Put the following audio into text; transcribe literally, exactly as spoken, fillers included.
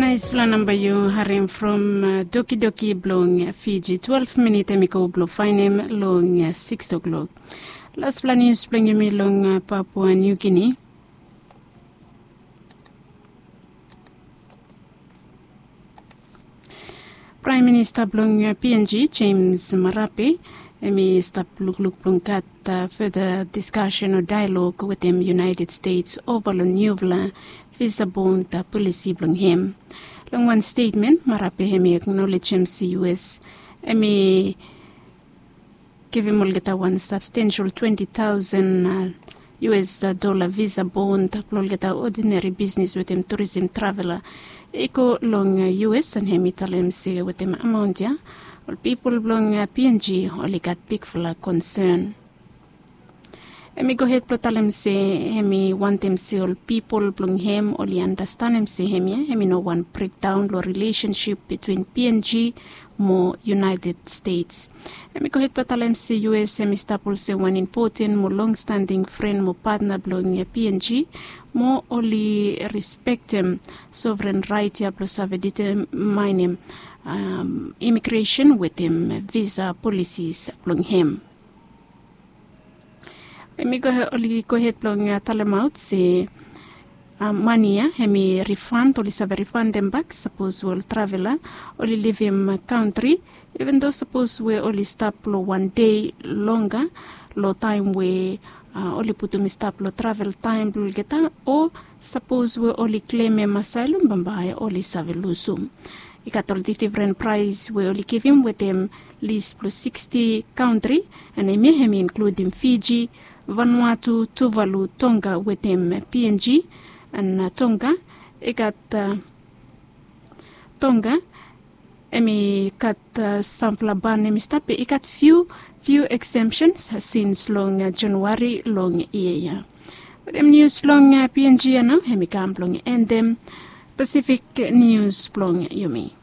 Naispela namba yu harim from dokidoki blong Fiji, twelve minit em i go blong fainem long six o'clock. Laspela nius blong yumi long Papua New Guinea. Praem Minista blong PNG, James Marape, em i stap lukluk blong gat further discussion o dialog wetem United States ova long niufala visa bond polisi blong hem. Long wan stetmen, Marape em i aknolejem se US em i givim olgeta wan substantial twenty thousand US dola visa bond blong olgeta odineri bisnis wetem turism travela i go long US, and hem i talem se wetem amaon ya ol pipol blong PNG oli gat bigfala konsen. Hem i gohed blong talem se hem i wantem se ol pipol blong hem oli anastenem se hemia hem i no wan brekdaon long rilesensip bitwin PNG mo United States. Hem i gohed blong talem se US hem i stap olsem wan impoten mo longstanding fren mo patna blong PNG, mo oli respektem sovren rait ya blong save ditemaenem imigresen wetem visa polisis blong hem. Hem i go, oli gohed blong talemaot se mani ya hem i rifan, oli save rifandem bak sapos we ol travela oli livim kantri, even do sapos we oli stap long wan dei longa long taem we oli putum i stap long travel taem blong olgeta, o sapos we oli klemem asaelom bambae oli save lusum. I gat ol difdifren praes we oli givim wetem lis blong sixty kantri, and hemia hem i inkludim Fiji, Vanuatu, Tuvalu, Tonga wetem PNG. And Tonga i gat Tonga hem i gat samfala ban hem i stap, i gat fiu fiu eksemsens sins long Januari long yia ya. Wetem nius long PNG ya nao hem i kam blong endem Pasifik nius blong yumi.